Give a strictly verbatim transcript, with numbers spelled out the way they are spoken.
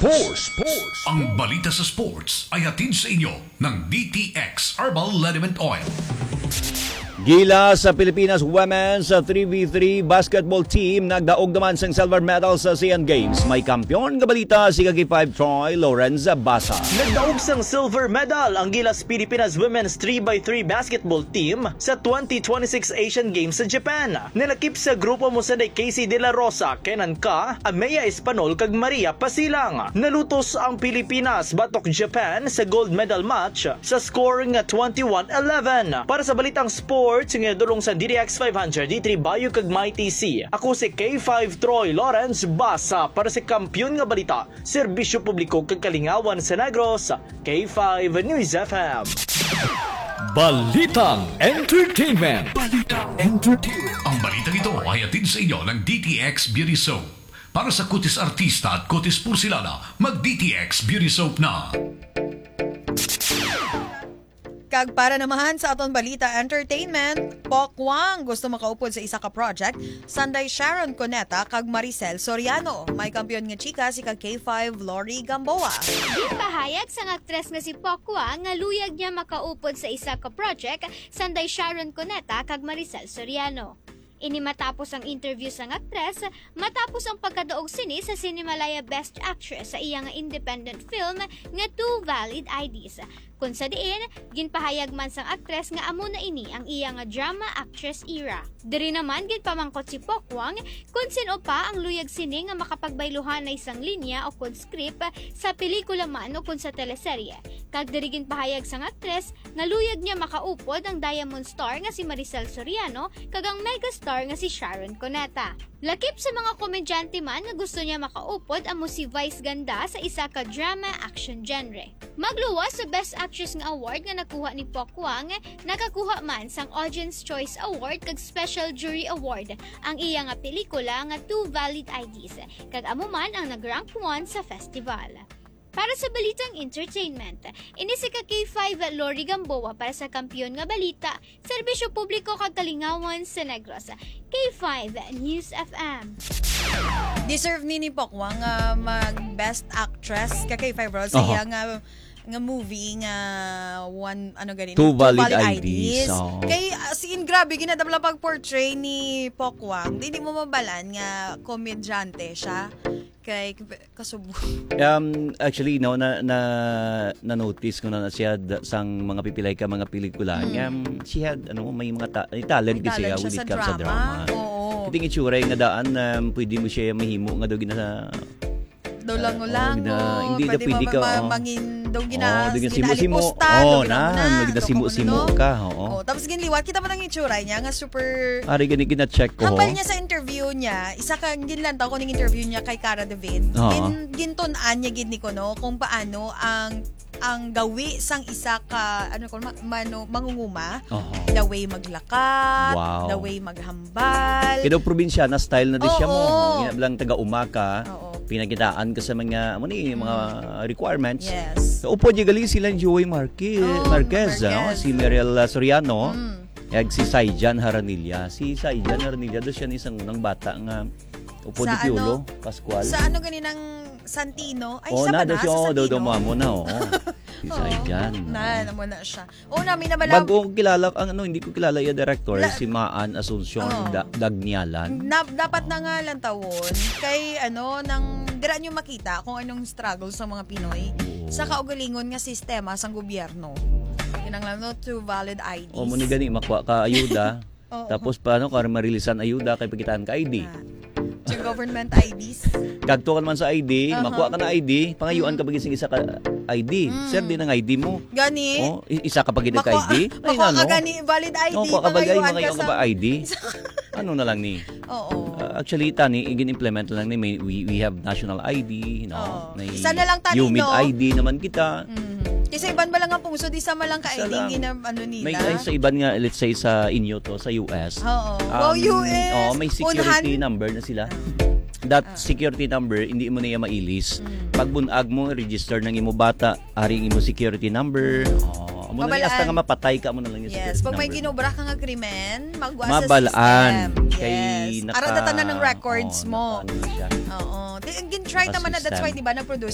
Sports. Sports. Ang balita sa sports ay hatid sa inyo ng D T X Herbal Liniment Oil. Gilas sa Pilipinas Women's three v three Basketball Team nagdaog naman sang silver medal sa Asian Games. May kampiyon nga balita si Kaki five Troy Lorenza Basa. Nagdaog sang silver medal ang Gilas Pilipinas Women's three by three Basketball Team sa twenty twenty-six Asian Games sa Japan. Nalakip sa grupo mo sanday Casey De La Rosa, Kenan Ka, Ameya Espanol kag Maria Pasilang. Nalutos ang Pilipinas batok Japan sa gold medal match sa score nga twenty-one eleven. Para sa balitang sports nga dulong sa D D X five hundred, D three Bayo kag Mighty C. Ako si K five Troy Lawrence Basa para sa kampiyon nga balita, serbisyo publiko kag kalingawan sa Negros, K five News F M. Balitang Entertainment. Balitang Entertainment. Ang balitang ito ay hatid sa inyo ng D T X Beauty Soap. Para sa kutis artista at kutis porselana, mag D T X Beauty Soap na. Kag para naman sa aton balita entertainment, Pokwang gusto makaupod sa isa ka project, sanday Sharon Cuneta kag Maricel Soriano. May kampiyon nga chika si ka K five Lori Gamboa. Ginpahayag sang aktres nga si Pokwang nga luyag niya makaupod sa isa ka project, sanday Sharon Cuneta kag Maricel Soriano. Ini matapos ang interview sang aktres matapos ang pagkadaog sini sa Cinemalaya Best Actress sa iya nga independent film nga Two Valid I Ds, kun sa diin ginpahayag man sang aktres nga amo na ini ang iya nga drama actress era. Diri naman ginpamangkot si Pokwang kon sin-o pa ang luyag sini nga makapagbayluhanay sang linya o kon script sa pelikula man o kon sa teleserye, kag diri ginpahayag sang aktres nga luyag niya makaupod ang Diamond Star nga si Maricel Soriano kag ang megastar nga si Sharon Cuneta. Lakip sa mga komedyante man nga gusto niya makaupod amo si Vice Ganda sa isa ka drama action genre. Magluwas sa Best Actress nga award nga nakuha ni Pokwang, nakakuha man sang Audience Choice Award kag Special Jury Award ang iya nga pelikula nga Two Valid I Ds, kag amo man ang nag-rank one sa festival. Para sa balitang entertainment, ini si ka K five Lori Gamboa para sa kampiyon nga balita, serbisyo publiko kag kalingawan sa Negros, K five News F M. Deserve ni ni Pokwang nga mag Best Actress ka K five Roll sa Aha. iya nga, nga movie nga one, ano gani, Two Valid I Ds. Oo. Kay, as in, grabe, ginadabla pag-portray ni Pokwang. Di, di mo mabalan nga komedyante siya. Kay, kasubo. Um, actually, no, na, na, na-notice ko na, na siya da, sang mga pipilay ka mga pelikula. Mm. Um, she had, ano, may mga ta-, may talent May kasi talent siya siya with it sa comes sa drama. drama. Oo. Ito yung itsura yung nga daan, um, pwede mo siya mahimo nga daw gina-, Daw uh, lango-lango, oh, gina-, hindi daw pwede pwede ma-, ka, ma-, oh. mangin-, daw Oo, gina-, daw ginasimo-simo. gina-alipusta, Oh, ginauna, nan, na, gina-simo-simo daw ka, oo. Oh, tapos ginliwat, kita mo nang itsura niya nga super Ari gani gina-check ko, Hambal ho. niya sa interview niya, isa ka, ginlantaw ko ning interview niya kay Cara David. Oo. Gin-, gintun-an niya gid ni kuno kung paano ang, ang gawi sang isa ka, ano ko, ma-, mano-, mangunguma. Oo. The way maglakad, Wow. the way maghambal. Kaya daw probinsyana style na di siya mo. Oo. Nga lang taga-uma ka, Oo. pinakitaan ka sa mga, ano ni, mga Mm. requirements. Yes. So, upod niya gali sila ni Joey Marquez, Oo, Marquez, ano? Marquez. Si Mariel, ah, Soriano. Mm. Kag si Saijan Haranilla. Si Saijan Haranilla, doon siya ni isang unang bata nga upod Sa ni Piolo ano? Pascual. Sa ano ganinang Santino? Ay, Oh, sa na, doon Panas, siya, sa oh, doon, Santino. doon mo, amo na, oo. Si Oo. Saijan, Na, oo. na mo na siya. Oo, na, may nabala- Bago ko kilala, ang ano, hindi ko kilala yung director, La- si Maan Asuncion Oo. Da-, Dagnialan. Na, dapat na nga lang tawon. Kay, ano, nang, dira nyo makita kung anong struggle sa mga Pinoy Oo. sa kaugalingon nga sistema sang gobyerno. Kinahanglan no, two valid I Ds. O, mo ni gani, makuha ka ayuda. Oo. Tapos paano ka marilisan ayuda kay pakitaan ka I D? Na. Yung government I Ds. Kagto ka naman sa I D, Aha. makuha ka na I D, pangayuan Mm. ka pa gid sing isa ka I D. Mm. Sir, di nang I D mo. Gani. Oh, i-, isa ka pa gid ka Makuha, I D? Ay, makuha ka ano? gani, valid I D, Oh, kuha ka ba, ay, mangayuan ka mangayuan ka sa pa I D? Isa ka Ano na lang ni? Oo. Uh, actually, tani, igin-implement lang ni, may, we, we have national I D, no? Oo. May Isa na lang tani, UMID no? I D naman kita. Mhm. Kasi iban ba lang ang pungsod, isa man lang ka Isa I D, lang. gina-, ano nila? May, ay, sa iban nga, let's say, sa inyo to, sa U S. Oo. Um, Wow, U S. Oo, may security Unhan. number na sila. Ah. That Ah. security number, hindi mo na iya mailis. Mm. Pag bunag mo, register ng imo bata, ari ang imo security number. Oh, amo na ni, hasta Mabalaan. nga mapatay ka, amo na lang yung Yes, security pag may number. ginobra ka nga krimen, magwa sa Mabalaan. system. Kay Yes. naka-, Ara na tanan ng records oh, mo. naka-, ano siya. Oo. Di, ang gin-try Naka-system. naman na, that's why, di ba, nag-produce